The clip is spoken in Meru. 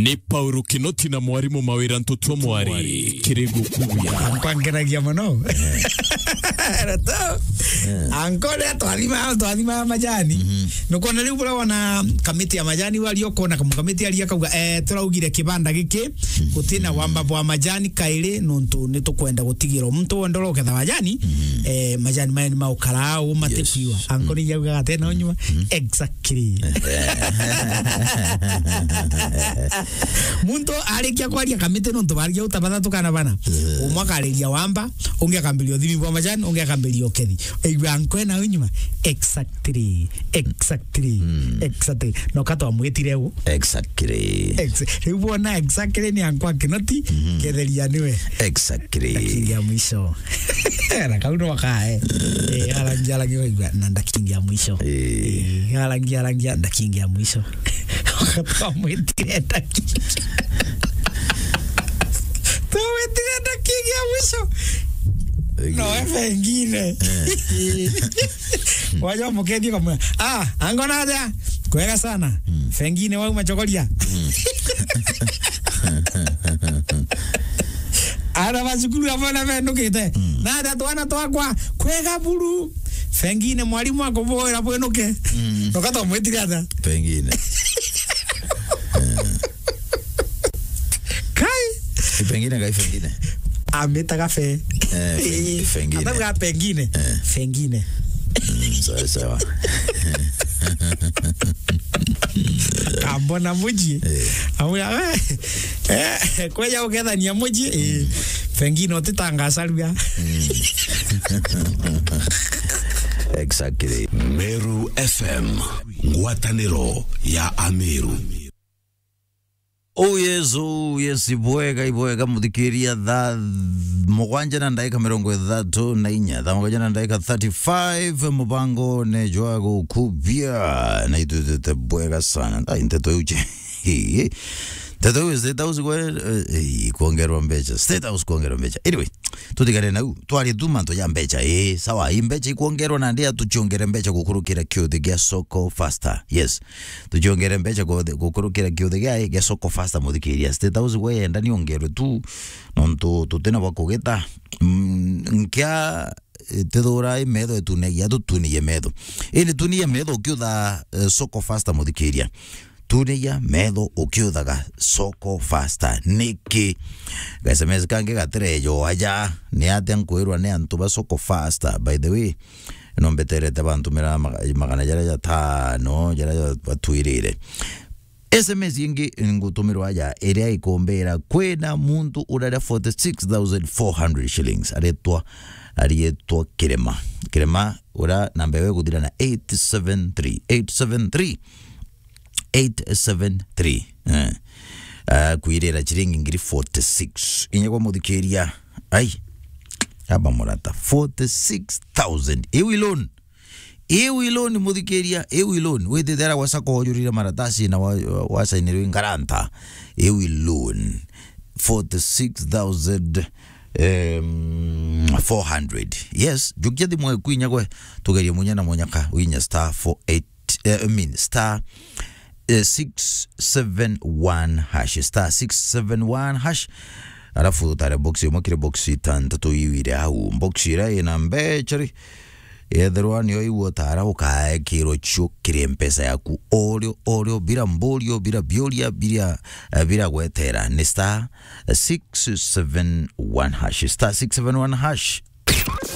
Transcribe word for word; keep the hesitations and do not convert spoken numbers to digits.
I Paulo Kinoti na mwarimu Mawira Ntutua Mwari, kiri gukubia. Ankwa nkeragia mono. Roto. Anko ria twathima, twathima majani. Nukwona riu buria wona kamiti ya majani wari ukona kamu kamiti ari akauga, eh, turaugire kibanda giki, gutina wamba bwa majani kairi, nontu ni tukwenda gutigira muntu wonde uroketha majani, eh, majani maya ni maukara au matikuiwa. Anko ni yauga atena unyuma. Exactly. Muntu arikia kwaria kamiti nontu barigia uta bathatu kana bana. Umwe akariria wamba, ungi akambiria uthimi bwa majani, ungi akambiria ukethi. Igua nkwe na unyuma. Exactly. Exactly. Exactly. No katwa mwitire u. Exactly. Ex-, riu bona exactly ni ankwa Kinoti, ketheria niwe. Exactly. Kingi ya mwisho. Na kau no kae. Eh, arangi, arangi waigua, na ndakingi ya mwisho. Eh. Eh, arangi, arangi, ndakingi ya mwisho. Twamwitire ndakingi. Twamwitire ndakingi ya mwisho. Eh. No, we pengine. Eh. Waja mukethia kamwe. Ah, angona aja. Kwega sana. Pengine wau machokoria. Ara ba cukuru abona benukite. Na ada twana twakwa kwega buru. Pengine mwalimu akuboera bwenuke. Nokata mwitire ata? Pengine. Kai. Pengine kai pengine. Ametaga fe. Eh, peng-, pengine. Atauga pengine. Eh. Pengine. Mm, sawa, sawa. Kambona muji. Eh. Amuya, eh, eh, kweja ukethania muji, eh, pengine utitangasarua. Exactly. Meru F M, ngwataniro ya Ameru. Oh yes, oh yes, ibwega, ibwega, muthikiria, thaa mugwanja na ndaika mirongo ithatu na inya, thaa mugwanja na ndaika thirty-five, mubangone jwa gukubia, na itwitite bwega sana. Ai, nteto iu je. Nteto iu, State House kwe, eh, eh, kuongerwa mbeca. State House kuongerwa mbeca. Anyway, tutigane nau, twarie tu mantu ja mbeca. Eh, sawa, i mbeca ikuongerwa na ndia tuchiongere mbeca gukurukira kiuthi gia Soko Faster. Yes. Tuchiongere mbeca guthi-, gukurukira kiuthi gia, gia Soko Faster, muthikiria. State House gwe yenda ni ongerwe tu, nontu tutina bwa kugita. Mm, nkia, eh, tithura i metho itunagia, tutunie metho. Indi tunie metho ukiutha, eh, Soko Faster, muthikiria. Tunagia metho ukiuthaga Soko Faster. Niki? Ga S M S kangi gatirejo aja. Ni atia nkwirwa ni antu ba Soko Faster? By the way, no mbeterete bantumira maga-, magana jaria jatano, jaria ja-, batwirire. S M S ingi ngutumirwa aja, iria ikumbira, kwina muntu uraria forty-six thousand four hundred shillings. Aretwa, arietwa Kirema. Kirema, uria namba yawe iguthira na eight seven three, eight seven three. Eight seven three. Eh. Ah, kwirira chiringi ngiri forty-six. Inya kwa muthikiria. Ai. Aba murata. Forty-six thousand. Iu i loan. Iu i loan, muthikiria. Iu i loan. Withithera gwa sacco wajurire maratasi na wa, wa, wasainirwe ngaranta. Iu i loan. Forty-six thousand, um, four hundred. Yes. Jukia thimu eku inya gwe. Tugerie munya na munyaka. Winya star four eight eh, I mean, star, eh, six seven one hash, star six seven one hash. Alafu utare box imwe kiri box itantatu iu iri au. Box iria ina mbecha ri, yethirwa niyo iu utara ukaekirwo cio kiri mpesa yaku. Orio, orio, bila mborio, bila bioria, bila, eh, bila gwetera. Ni star six seven one hash, star six seven one hash.